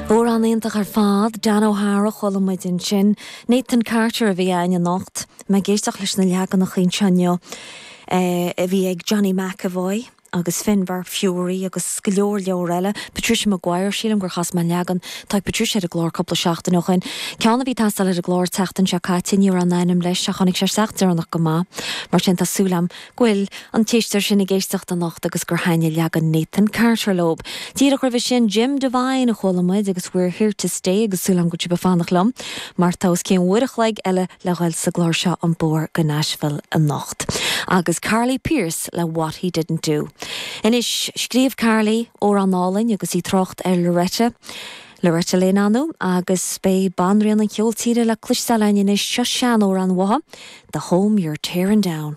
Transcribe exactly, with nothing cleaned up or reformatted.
Amhrán iontach ar fad Dan O'Hara chuala muid ansin. Nathan Carter a bhí againn anocht, mé ag éisteacht leis na leaganacha anseo a bhí ag Johnny McEvoy agus Finbar Furey agus go leor leor eile. Patricia Maguire sílim gur chas mé leagan tá Patricia ar an gclár cúpla seachtain ó shin. Ceann a bhí ag teastáil ar an gclár tseachtain seo caite ní raibh an ainm leis a tháinig sé isteach deireanach go maith. Mar sin tá súil agam go bhfuil an t-éisteoir sin ag éisteacht anocht agus gur thaitin leagan Nathan Carter leo. Díreach roimhe sin Jim Devine a chuala muid agus we're here to stay agus súil agam go bhfuil sibh ag fanacht liom, mar tá os cionn uair a chloig eile le dhul sa gclár seo an bóthar go Nashville anocht. Agus Carly Pearce le What He Didn't Do. Anois scríobh Carly amhrán álainn agus í ag trácht ar Loretta. Loretta Lynn anu agus beidh banríon an cheoil tíre le cloisteáil anois seo seanamhrán uaithi, The Home You're Tearing Down.